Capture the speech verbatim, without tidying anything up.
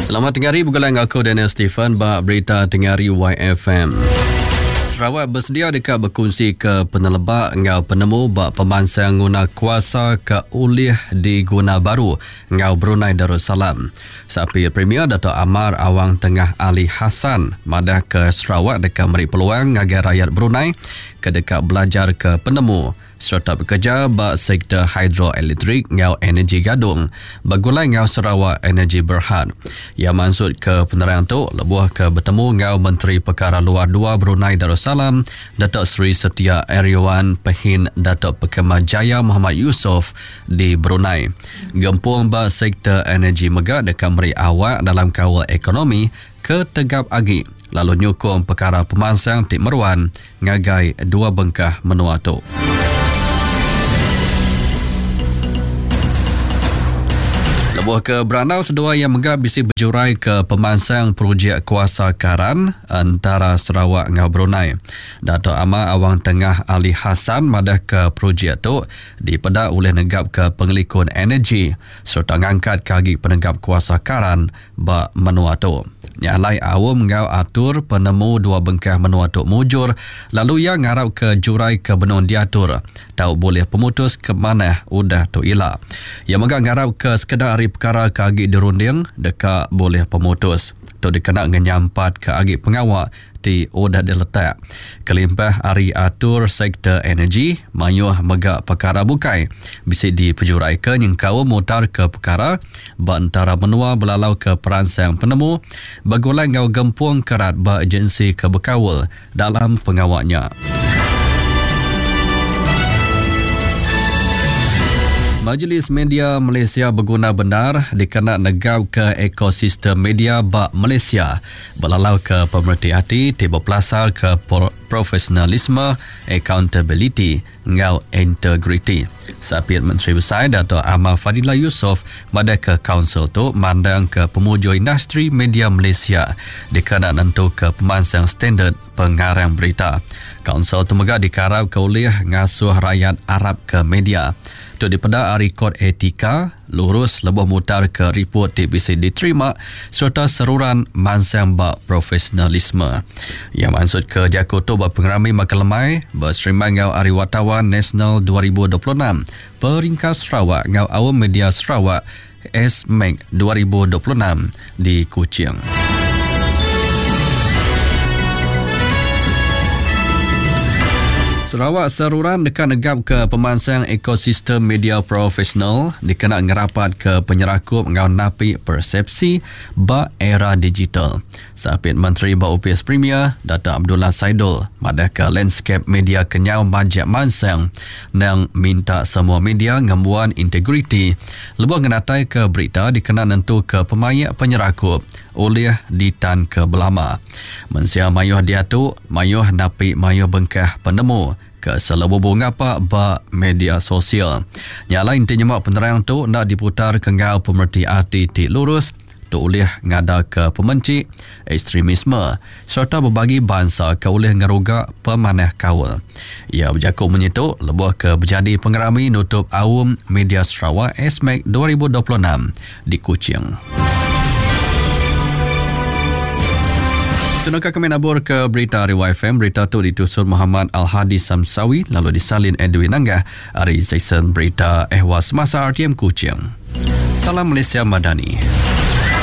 Selamat tengah hari bergulai dengan aku Daniel Stephen ba berita tengah hari Y F M. Sarawak bersedia dekat berkongsi ke penelebak ngau penemu bak pemansang guna kuasa ke ulih diguna baru ngau Brunei Darussalam. Sapi Premier Dato' Amar Awang Tengah Ali Hassan madah ke Sarawak dekat meri peluang ngagai rakyat Brunei ke dekat belajar ke penemu serta bekerja bak sektor hidroelektrik ngau energi gadung bergulai ngau Sarawak Energy Berhad. Ia maksud ke penerang tu lebuh ke bertemu ngau Menteri Perkara Luar Dua Brunei Darussalam Datuk Seri Setia Eriwan Pehin Datuk Pekema Jaya Muhammad Yusof di Brunei. Gempung bak sektor energi mega dekat meri awak dalam kawal ekonomi ke tegap agi lalu nyukung perkara pemansang ti meruan ngagai dua bengkah menua tu. Lebuh ke Beranau sedua yang megah bisi berjurai ke pemansang projek kuasa karan antara Sarawak dengan Brunei. Dato' Amar Awang Tengah Ali Hassan madah ke projek tu dipedak oleh negap ke pengelikun energi serta ngangkat kagi penegap kuasa karan ba menua tu. Nyalai awam ngau atur penemu dua bengkah menua tu mujur lalu ia ngarap ke jurai ke benun diatur tau boleh pemutus ke mana udah tu ila. Ia megah ngarap ke sekedar hari perkara ke agi dirunding dekat boleh pemutus. Tu dikena ngenyampat ke agi pengawak ti udah diletak. Kelimpah hari atur sektor energi, mayuh megak perkara bukai. Bisi dipejurai ke nyengkau mutar ke perkara bantara menua belalau ke peransang penemu bergulai ngau gempung kerat ba agensi ke bekawal dalam pengawaknya. Majlis Media Malaysia berguna benar dikena negau ke ekosistem media bak Malaysia belalau ke pemerhati hati tiba pelasar ke profesionalisme, accountability ngau integriti. Sapiat Menteri Besar Dato' Amar Fadillah Yusof pada ke kaunsil tu mandang ke pemuju industri media Malaysia dikena nentu ke pemansang standard pengarang berita. Kaunsil tu mega dikarap ke oleh ngasuh rakyat Arab ke media. Tu dipedak hari kod etika lurus lebuh mutar ke report T B C diterima serta seruran mansang bak profesionalisme. Yang maksud ke jaku tu bak pengerami makan lemai berserima ngau Hari Wartawan Nasional dua ribu dua puluh enam Peringkat Sarawak ngau Awam Media Sarawak S M A C dua ribu dua puluh enam di Kuching. Sarawak seruran dekat negap ke pemansang ekosistem media profesional dikena ngerapat ke penyerakup ngau napi persepsi ba era digital. Sapit Menteri ba U P S Premier Dato' Abdullah Saidol madah ke landscape media kenyau majak mansang nang minta semua media ngembuan integriti lebuh ngenatai ke berita dikena nentu ke pemayak penyerakup oleh ditan ke belama. Mensia mayuh diatu mayuh napi mayuh bengkah penemu ke selebubu ngapa ba media sosial. Nyala inti nyemak penerang tu nak diputar ke ngau pemerti hati ti lurus tu oleh ngada ke pemenci ekstremisme serta berbagi bangsa ke oleh ngeruga pemanah kawal. Ia berjakuk menyituk lebuh ke berjadi pengerami nutup Awam Media Sarawak S M A C dua ribu dua puluh enam di Kuching. Tunaka kami nabur ke berita hari Y F M. Berita tu ditusun Muhammad Al-Hadi Samsawi lalu disalin Edwin Nanggah hari seksyen berita Ehwas Semasa R T M Kuching. Salam Malaysia Madani.